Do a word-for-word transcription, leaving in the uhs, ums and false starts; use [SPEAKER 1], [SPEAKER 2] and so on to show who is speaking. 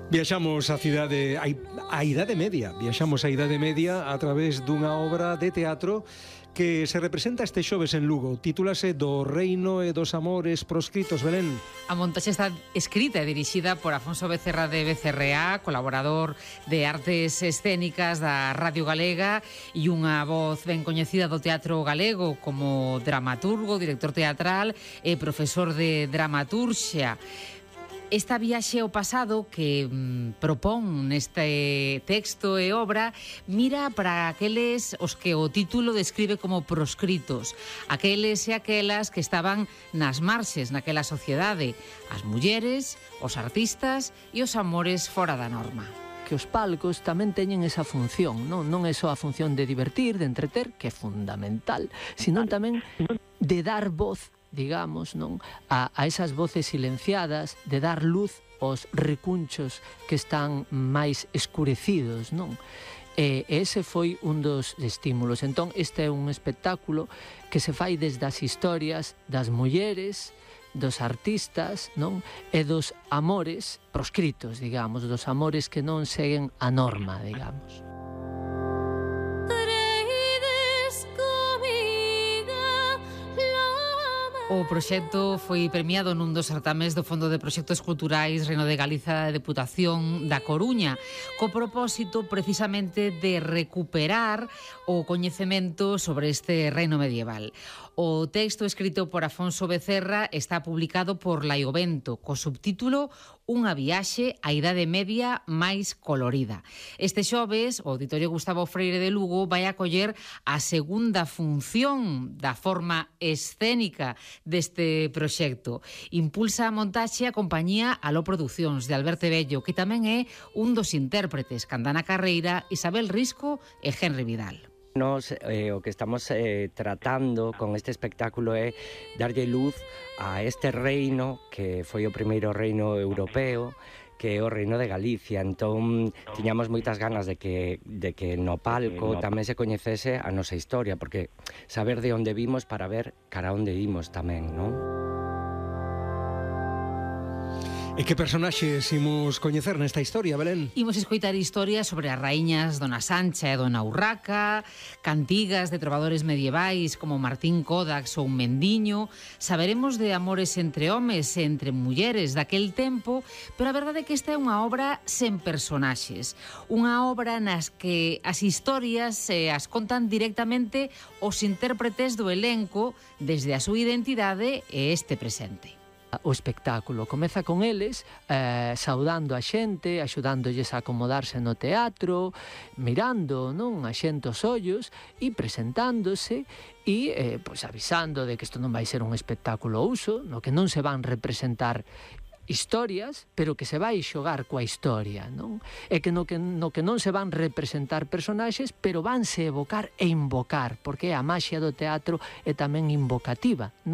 [SPEAKER 1] Viaxamos a cidade, a, a Idade Media, viaxamos a Idade Media a través dunha obra de teatro que se representa este xoves en Lugo. Titúlase Do reino e dos amores proscritos, Belén.
[SPEAKER 2] A montaxe está escrita e dirixida por Afonso Becerra de B C R A, colaborador de Artes Escénicas da Radio Galega e unha voz ben coñecida do teatro galego como dramaturgo, director teatral e profesor de dramaturxia. Esta viaxe ao pasado que mm, propón neste texto e obra mira para aqueles os que o título describe como proscritos, aqueles e aquelas que estaban nas marxes naquela sociedade, as mulleres, os artistas e os amores fora da norma.
[SPEAKER 3] Que os palcos tamén teñen esa función, non, non é só a función de divertir, de entreter, que é fundamental, sino tamén de dar voz, digamos, non, a, a esas voces silenciadas, de dar luz aos recunchos que están máis escurecidos, non? E ese foi un dos estímulos. Entón, este é un espectáculo que se fai desde as historias das mulleres, dos artistas, non? E dos amores proscritos, digamos, dos amores que non seguen a norma, digamos.
[SPEAKER 2] O proxecto foi premiado nun dos certames do Fondo de Proxectos Culturais Reino de Galiza da Deputación da Coruña, co propósito precisamente de recuperar o coñecemento sobre este reino medieval. O texto escrito por Afonso Becerra está publicado por Laiovento, co subtítulo Unha viaxe á Idade Media máis colorida. Este xoves, o Auditorio Gustavo Freire de Lugo vai acoller a segunda función da forma escénica deste proxecto. Impulsa a montaxe a compañía Aló Producións de Alberto Bello, que tamén é un dos intérpretes, Candana Carreira, Isabel Risco e Henry Vidal.
[SPEAKER 4] Nos, eh, o que estamos eh, tratando con este espectáculo é darlle luz a este reino que foi o primeiro reino europeo, que é o reino de Galicia. Entón, tiñamos moitas ganas de que, de que no palco tamén se coñecese a nosa historia, porque saber de onde vimos para ver cara onde imos tamén, non?
[SPEAKER 1] E que personaxes imos coñecer nesta historia, Belén?
[SPEAKER 2] Imos escoitar historias sobre as raíñas Dona Sancha e Dona Urraca, cantigas de trovadores medievais como Martín Codax ou Mendiño, saberemos de amores entre homes e entre mulleres daquel tempo, pero a verdade é que esta é unha obra sen personaxes, unha obra nas que as historias se as contan directamente os intérpretes do elenco desde a súa identidade e este presente.
[SPEAKER 3] O espectáculo comeza con eles eh, saudando a xente, axudándolles a acomodarse no teatro, mirando, non, a xente os ollos e presentándose e eh, pois avisando de que isto non vai ser un espectáculo uso, no que non se van representar historias, pero que se vai xogar coa historia, non? E que no que, no que non se van representar personaxes, pero vanse evocar e invocar, porque a maxia do teatro é tamén invocativa, non?